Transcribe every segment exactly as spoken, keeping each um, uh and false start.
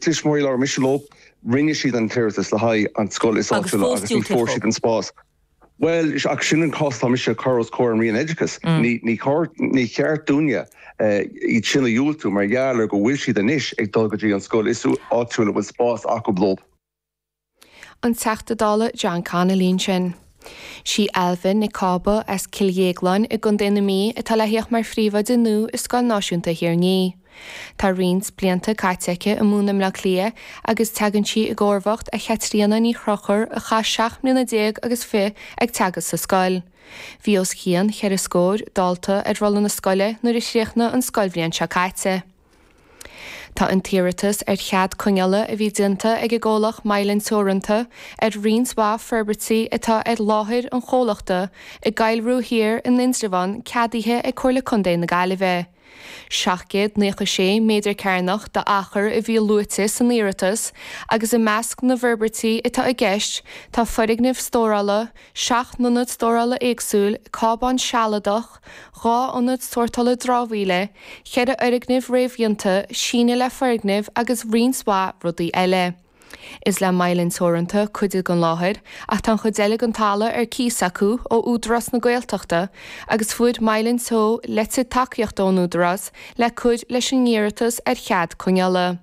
Tuismitheoirí labhair mise leo rinne siad an t-iarratas le haghaidh an scoil is áitiúla agus ní fuair siad an spás. Well ach sin an cás tá mise chur os comhair an Roinn Oideachais mm. ní ní cheart dúinne eh, iad sin a dhiúltú mar gheall ar go bhfuil siad anois ag dul go dtí an scoil is áitiúla bhfuil spás acu leo. An Teachta Dála John Connolly sin. Sí Ailbhe Nic Cába as Cill Dhéagláin i gContae na Mí atá le theacht mar phríomhoide nua i Scoil Náisiúnta Thír an Fhia. Tá roinnt blianta caite aici ag múineadh i mBaile Átha Cliath agus tagann sí i gcomharbacht ar Chaitríona Ní Chonchúir a chaith seacht mbliana déag agus fiche ag teagasc sa scoil. Bhí os cionn cheithre scór dalta ar rolla na scoile nuair a chríochnaigh an scoilbhliain seo caite. Tá an t-iarratas ar chead coinneála a bhí déanta ag an gcomhlacht Mylan Teoranta ar roinnt mhaith forbairtí atá ar láthair an chomhlachta i gCoill Rua Thiar in Indreabhán ceadaithe ag Comhairle Contae na Gaillimhe. Seacht gcéad naocha sé méadar cearnach d'achar a bhí luaite san iarratas agus i measc na bhforbairtí atá i gceist tá foirgneamh stórála, seacht n-ionad stórála éagsúil, cábán sealadach, dhá ionad sórtála dramhaíola, ceithre fhoirgneamh réamhdhéanta, síneadh le foirgneamh agus roinnt mhaith rudaí eile. Is le Mylan Teoranta cuid den láthair ach tá an chuid eile den talamh ar cíos acu ó Údarás na Gaeltachta agus fuair Mylan Teo litir tacaíochta ón Údarás le cur leis an iarratas ar chead coinneála.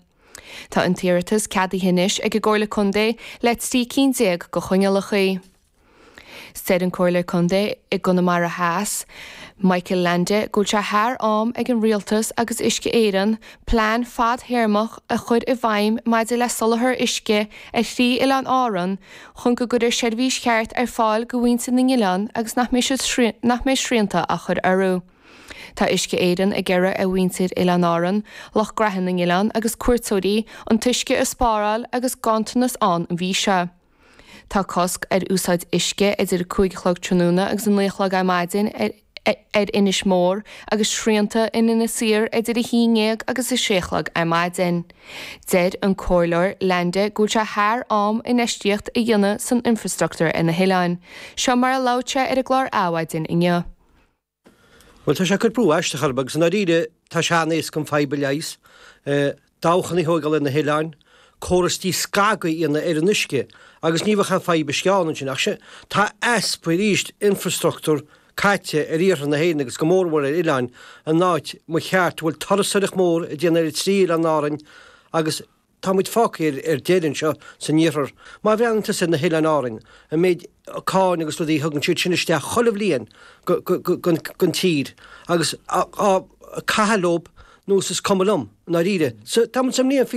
Tá an t-iarratas ceadaithe anois ag an gComhairle Contae le trí cinn déag de choinníollacha. Deir an Comhairleoir Contae i gConamara Theas, Michael Leainde go bhfuil sé thar am ag an rialtas agus Uisce Éireann plean fadtéarmach a chur i bhfeidhm maidir le soláthar uisce ar thrí oileán Árann chun go gcuirfear seirbhís cheart ar fáil do mhuintir na n-oileán agus nach mbeidh nach mbeidh srianta á chur orthu. Tá Uisce Éireann ag iarraidh ar mhuintir Oileáin Árann, lucht gnaithe na n-oileán agus cuairteoirí an t-uisce a spáráil agus ganntanas ann an mhí seo. Tá cosc ar úsáid uisce idir cúig a chlog tráthnóna agus a naoi a chlog ar maidin ar ar Inis Mór agus srianta in Inis Oírr idir a haon déag agus a sé a chlog ar maidin. Deir an Comhairleoir Leainde go bhfuil sé thar am infheistíocht a dhéanamh san infrastruchtúr ar na hoileáin. Seo mar a labhair sé ar an gclár Adhmhaidin inniu. Well tá sé ag cur brú aisteach orm agus i ndáiríre tá sé an-éasca an fadhb a leigheas. Dabhchanna a thógáil ar na hoileáin, córas díscagadh a dhéanamh ar an uisce agus ní bheadh aon fadhb uisce ann ansin ach sin tá easpa arís infrastruchtúr caite ar iarthar na hÉireann agus go mórmhór ar oileáin an áit mo cheart bhfuil turasóireacht mór ag déanamh ar trí oileán Árainn agus tá muid fágtha ar ar deireadh anseo san iarthar. Má bhreathnaíonn tusa ar na hoileáin Árainn, an méid cáin agus rudaí a thugann siad sin isteach chuile bhliain gon tír agus á caitheamh leo nó is cuma liom, i ndáiríre. So tá muid sa mbliain fiche